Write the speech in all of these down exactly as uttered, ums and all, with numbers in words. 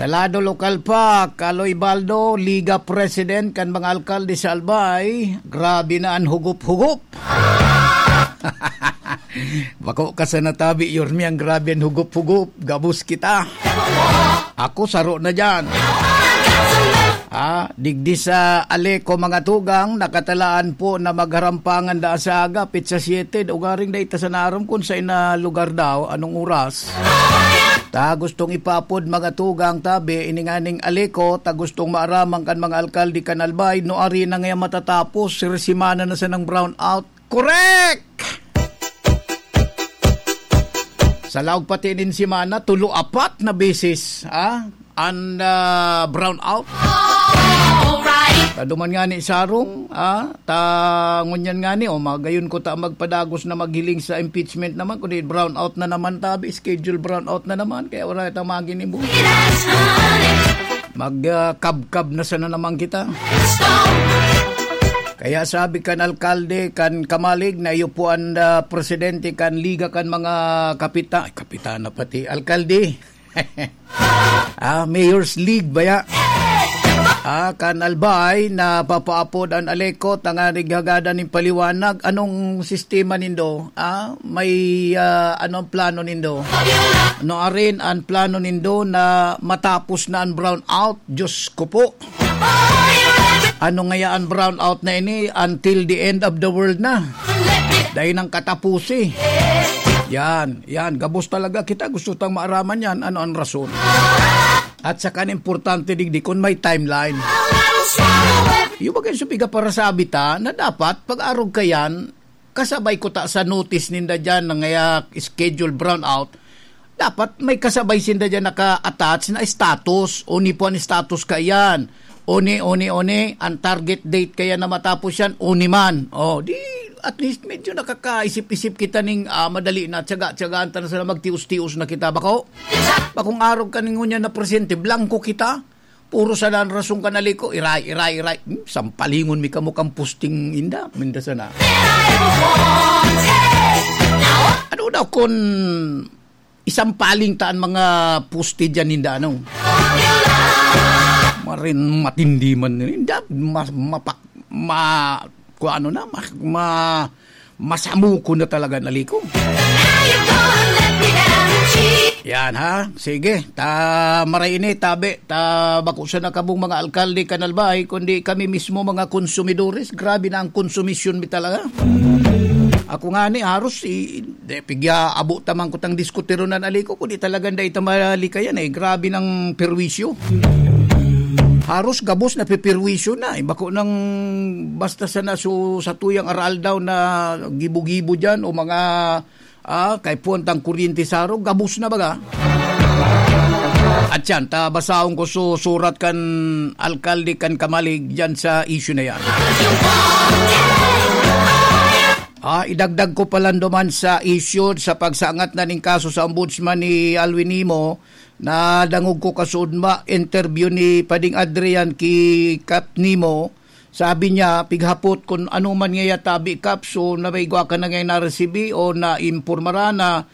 Sa lado lokal pa, Kaloy Baldo, Liga President kan mga alkalde sa Albay, grabe na an hugop-hugop. Bako ka sa natabi, Yormi, ang grabe an hugop-hugop. Gabos kita. Ako, saro na dyan. Ah, digdi sa Aleco, mga tugang, nakatalaan po na magharampangan da sa aga, pitsa siete, ugaring da ita sa narom kung sa ina lugar daw, anong oras. Ta gustong ipapod, mga tugang, tabi, ininganing Aleco, ta gustong maaraman kan mga alkalde kan Albay, no ari na ngaya matatapos, sir, simana na sa nang brown out. Correct! Sa laog pati nin semana, tulo, apat na beses, ah, an, ah, brown out. Alright. Kaduman nga ni Sarong, ah, ta ngunyan nga ni, oh, magayon ko ta magpadagos na maghiling sa impeachment naman, kundi brown out na naman tabi, schedule brown out na naman, kaya wala itang maginibo. Mag, ah, kabkab na sana naman kita. Kaya sabi kan alkalde, kan Kamalig, na iyo po ang, ah, presidente kan Liga kan mga kapita-, ay, kapitana pati, alkalde. Ah, Mayor's League baya? Ah, kan Albay, na papaapod an Aleco, tanganing hagadan nin paliwanag. Anong sistema nindo? Ah, may, ah, anong plano nindo? No, arin ang plano nindo na matapos na ang brown out? Diyos ko po. Ano ngaya an brown out na ini until the end of the world na? Dai nang katapusi. Yan, yan. Gabos talaga kita. Gusto tang maaraman yan. Ano ang rason? At saka an importante digdi kung may timeline. Yung bagay sa piga para sa abita na dapat pag-arog ka yan, kasabay ko ta sa notice ninda dyan na ngaya schedule brown out, dapat may kasabay sinda dyan naka-attach na status. Oni po an status ka yan. Oni, oni, oni. Ang target date kaya na matapos yan, oni man. Oh, di, at least medyo nakakaisip-isip kita ning, ah, madali na, tiyaga-tiyagaan ta na sana, magtios-tios na kita. Bako, bakong arog ka ning ngunyan na presente, blanco kita. Puro sa dan rason ka naliko, iray, iray, iray. Hmm, sampalingon mi kamo kan posting inda, minda sana. Ano daw kun isampaling ta an mga poste diyan ninda, ano? Marin matindi man ninda, mas mapak-, ma-, kung ano na, ma-, ma-, masamukon na talaga naliko. Yan, ha? Sige, ta maray ini, tabi, ta bako sa nakabong mga alkalde kan Albay, kundi kami mismo mga konsumidores. Grabe na ang konsumisyon mi talaga. Ako nga ni, haros, i-, de, pigya, abo tamang kutang diskutiron na naliko, kundi talagang dai ta malikayan, eh. Grabe ng perwisyo. Haros gabos na pipirwisyo na, eh. Bako nang basta sana su-, sa tuyang aral daw na gibo-gibo dyan o mga, ah, kay puwantang kuryente sa arog, gabos na baga. At yan, ta basahon ko su-, surat kan alkalde kan Kamalig dyan sa issue na yan. Ah, idagdag ko pa lang duman sa issue sa pagsangat na ning kaso sa ombudsman ni Alwin Nimo, nadangog ko kasuodma interview ni Pading Adrian ki Kap Nimo. Sabi niya, pighapot kun ano man ngaya tabi, Kap, so na may igwa ka na ngaya naresibi o naimpormara na,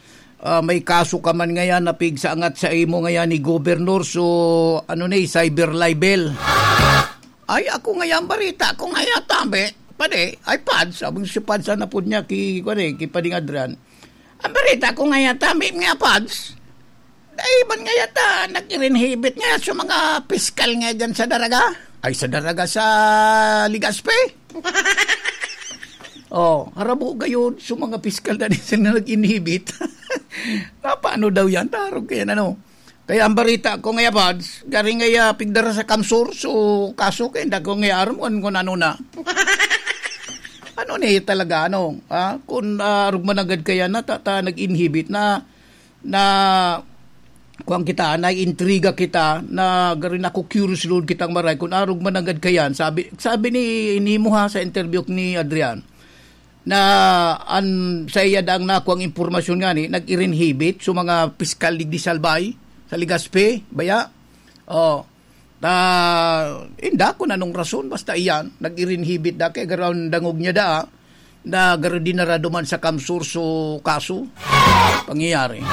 ah, may kaso ka man ngaya na pigsangat sa imo ngaya ni Gobernador, so ano ni, cyber libel. Ay, ako ngaya ang barita ko ngaya tabi. Padi, ay, Pads, sabi si Pads, sana po niya ki, kuwan eh, ki Pading Adrian. Ang barita ko ngaya tabi nga, Pads. Dai man ngaya ta nag-irinhibit ngaya sa mga piskal ngaya dyan sa Daraga. Ay, sa Daraga, sa Legazpi. Oh, harabo gayon sa mga piskal na sila nag-inhibit. Na paano daw yan? Tarog kaya na, no? Kaya ang barita ko ngaya, Pads, gari ngaya pigdara sa Kamsur, so kaso kaya hindi ko ngaya aram kung, kung ano na. Ano na talaga, ano? Ha? Kung, ah, arog managad kaya na, ta, ta, nag-inhibit na, na, kuwan kita, naiintriga kita, na gari na curious load kitang maray, kung arog managad kayan, sabi, sabi ni, ni mo ha, sa interview ni Adrian, na an, sa iya daang nakuang impormasyon ngani, nag-irinhibit sa mga piskal digdi sa Albay, sa Legazpi, baya? Oh, ta, inda kung anong rason, basta iyan, nag-irinhibit da, kay garo an dangog niya da, na garo dinara duman sa Kamsur so kaso, pangyayari.